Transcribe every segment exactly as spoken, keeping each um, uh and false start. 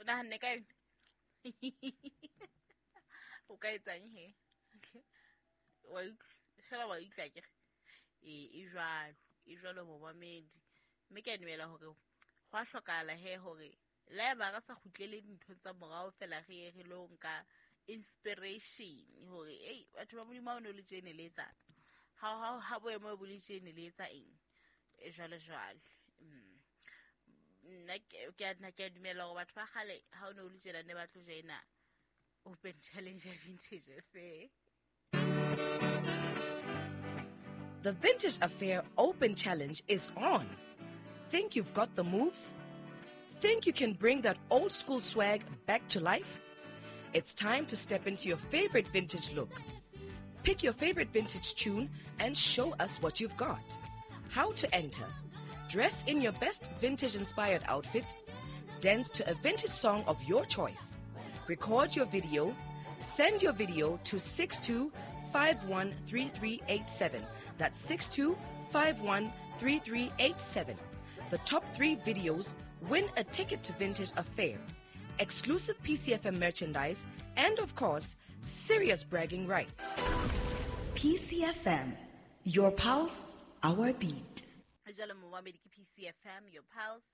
Nahanne ka yona. O ka etsang he? Wa utlwa, fela wa utlwa akere. E e jwalo, e jwalo momamedi. Mme ke a dumela hore ho a hlokahala he hore le haeba re sa kgutlele dinthong tsa morao fela re ye re lo nka inspiration hore ei batho ba Modimo ha o no le tjene le etsang. Ha ha ha boemo bo le tjene le etsa eng? E jwalo jwalo. Mm. Nna ke ke a nna ke a dumela hore batho ba kgale ha o no le tjena ne ba tlo joina Open Challenge ya Vintage Affair. The Vintage Affair Open Challenge is on. Think you've got the moves? Think you can bring that old school swag back to life? It's time to step into your favorite vintage look. Pick your favorite vintage tune and show us what you've got. How to enter: dress in your best vintage inspired outfit, dance to a vintage song of your choice, record your video, send your video to six two five one three three eight seven. That's six two five one three three eight seven. The top three videos win a ticket to Vintage Affair, exclusive P C F M merchandise, and of course, serious bragging rights. P C F M, your pulse, our beat. Jalo momamedi ke P C F M, your pulse,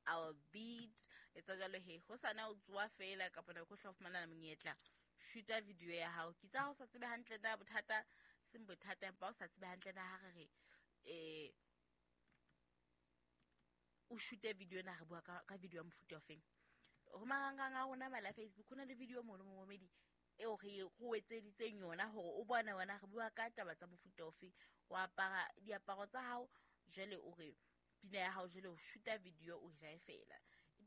our beat. Etsa jalo he, ho sana o tsoa fela kapa nako o hla o fumana monyetla. Shoota video ya hao. Ke tsa ho sa tsebe hantle na bothata, seng bothata empa o sa tsebe hantle na ha re re, eh, o shoot video na re bua ka, ka video ya mofuta ofeng. Ho marangrang a rona mala Facebook ho na le video mo le momamedi eo re go etseditseng yona hore o bone wena re bua ka taba tsa mofuta ofe. O apara diaparo tsa hao jwale o re pina ya hao jwale o shoota video o jae fela.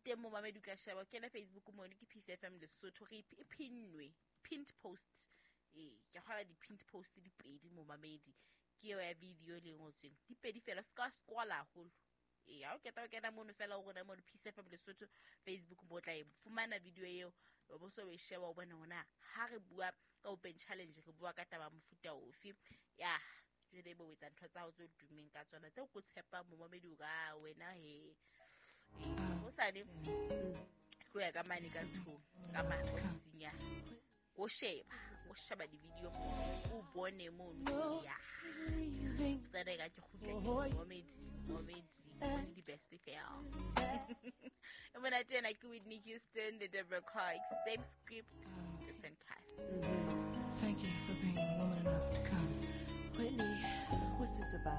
Teng mo mamedi o tla sheba, o kene Facebook mono ke P C F M Lesotho, re e pinnwe, pinned post. Eh, ke kgola di-pinned post di pedi mo mamedi. Ke eo ya video le ngotsweng. Di pedi fela, se ka scroll haholo. Eh, ha o keta o kena mono fela o rona mono P C F M Lesotho Facebook mo tla e fumana video eo, o bo so e sheba o bone hona ha re bua ka Open Challenge re bua ka taba mofuta ofe. Ya, jwale bo etsa ntho tsa hao tse tummeng ka tsona tseo ko tshepa momamedi o ka wena he. O sane tlo ya ka mane ka nthong ka mane ofising ya o sheba, o sheba di-video o bone mono ya. Sane ka ke kgutla ke momamedi, momamedi, bone di-best fela. E monate ena ke Whitney Houston le Deborah Cox, same script, different cast. Thank you for being woman enough to come. Whitney, what's this about?